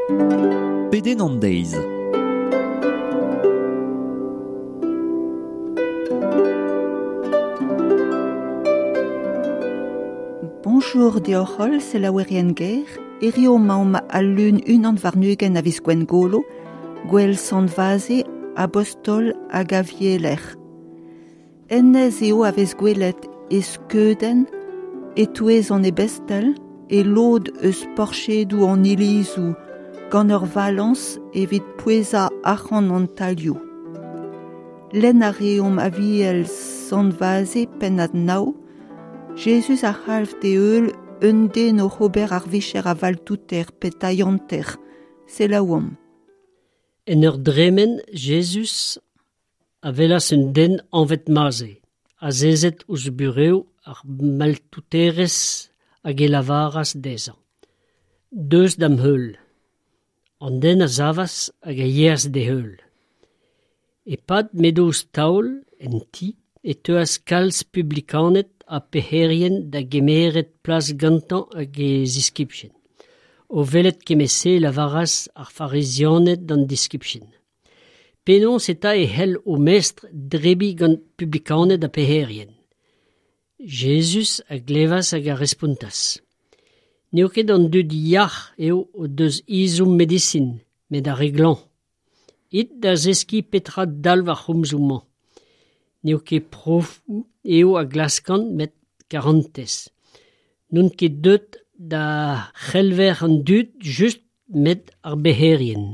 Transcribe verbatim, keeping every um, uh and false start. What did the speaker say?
Pedenn an deiz. Bonjour deoc'h holl, selaouerien ger, hirio 'maomp al lun unan warn-ugent a viz Gwengolo, gwel Sant Vaze, abostol hag avieler. Hennezh eo a vez gwelet e skeudenn, e-touez an ebestel, e lod eus porchedoù an ilizoù, gant ur valañs evit pouezañ arc'hant an talioù. Lenn a reomp aviel Sant Vaze pennad nav, Jezuz a c'halv d'e heul un den oc'h ober ar vicher a valtouter pe tailhanter, selaouomp. En ur dremen, Jezuz a welas un den anvet Maze, azezet ouzh burev ar maltouterezh hag e lavaras dezhañ. Deus da'm heul. An den a savas hag a yeas d'e heul. E-pad m'edo ouzh taol, en ti, e teuas kalz publikaned ha pec'herien da gemeret plas gantañ hag e ziskibien. O welet kement-se e lavaras ar farizianed d'an diskibien. Penaos eta e c'hell ho mestr debriñ gant publikaned ha pec'herien. Jezuz a glevas hag a respontas. N'eo ket an dud yac'h eo o deus ezhomm medisin, met ar re glañv. It da zeskiñ petra dalv ar c'homzoù-mañ. N'eo ket profoù eo a glaskan, met karantez. N'on ket deuet da c'helver an dud just, met ar bec'herien.